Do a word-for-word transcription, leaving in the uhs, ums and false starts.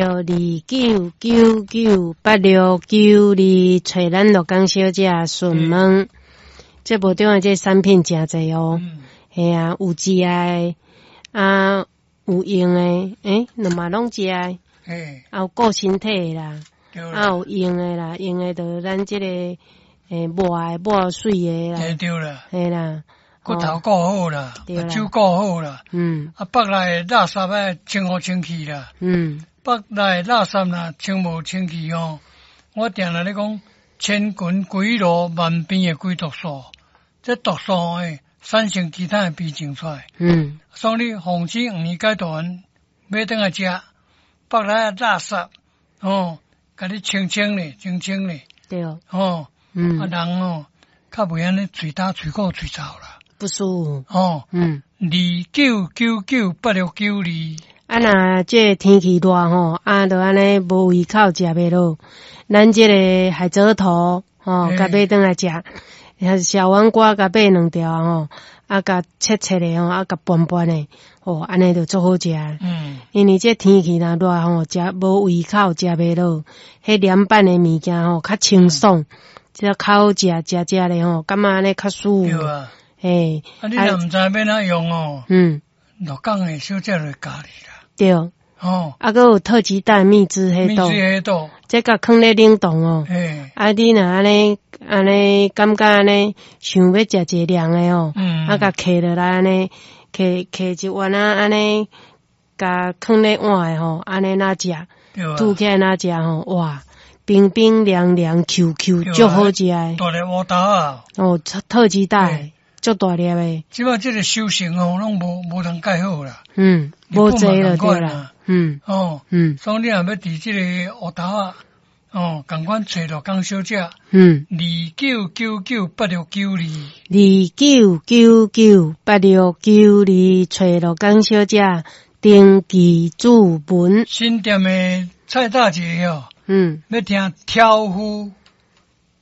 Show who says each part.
Speaker 1: 二九九九八六九二，揣咱鹿港小姐詢問。節目中的這產品誠濟哦，嘿啊，有食的，啊有用的，欸，兩嘛攏食的，啊有顧身體的啦，啊有用的啦，用的就咱這個欸抹的抹媠的啦，
Speaker 2: 對啦，
Speaker 1: 嘿啦，
Speaker 2: 骨頭顧好啦，目睭顧好啦，
Speaker 1: 嗯，
Speaker 2: 啊腹內垃圾愛清好清氣啦，
Speaker 1: 嗯，
Speaker 2: 腹內垃圾若清無清氣吼，我定定咧講，千群鬼路萬變的鬼毒素。這毒素會產生其他的病症出來。
Speaker 1: 嗯，
Speaker 2: 所以你防止黃連解毒丸買轉來食，腹內垃圾哦，共你清清咧，清清咧。
Speaker 1: 對。
Speaker 2: 哦，
Speaker 1: 嗯，
Speaker 2: 啊人哦，較袂按呢喙焦、喙苦、喙臭啦。
Speaker 1: 不舒服。
Speaker 2: 哦，
Speaker 1: 嗯，
Speaker 2: 二九九九八六九二。
Speaker 1: 啊，若這個天氣熱吼，啊，就按呢無胃口食袂落，咱這個海蜇頭吼，共買轉來食。小黃瓜共買兩條吼，啊，共切切的吼，啊，共拌拌的，吼，按呢就足好食。
Speaker 2: 嗯，
Speaker 1: 因為這天氣若熱吼，食無胃口，食袂落，彼涼拌的物件吼，較清爽，這較好食，食食咧吼，感覺按呢較舒服。
Speaker 2: 對啊。
Speaker 1: 嘿，
Speaker 2: 啊，你若毋知欲按怎用哦？
Speaker 1: 嗯。
Speaker 2: 鹿港的小姐就會教你啦。
Speaker 1: 對。
Speaker 2: 哦。
Speaker 1: 啊，閣有特級蛋蜜汁黑豆。
Speaker 2: 蜜汁黑豆。
Speaker 1: 這共囥咧冷凍哦。
Speaker 2: 嘿。
Speaker 1: 啊，你若按呢按呢感覺按呢想欲食一个涼的吼，
Speaker 2: 嗯，
Speaker 1: 啊，共揢落來按呢，揢揢一碗仔按呢，共囥咧碗的吼，按呢若食，吐起來若食吼，哇，冰冰涼涼 Q Q，足好食的。
Speaker 2: 大粒烏豆仔。
Speaker 1: 哦，特特級蛋，足大粒的。
Speaker 2: 這擺這個收成哦，攏無無通蓋好啦。
Speaker 1: 嗯，無濟了對啦。嗯。
Speaker 2: 哦。
Speaker 1: 嗯。
Speaker 2: 所以你若欲佇這個烏豆仔。哦，仝款揣鹿港小姐，
Speaker 1: 嗯，
Speaker 2: 二九九九八六九二，
Speaker 1: 二九九九八六九二，揣鹿港小姐登記注文。
Speaker 2: 新店的蔡大姐哦，
Speaker 1: 嗯，
Speaker 2: 欲聽挑夫。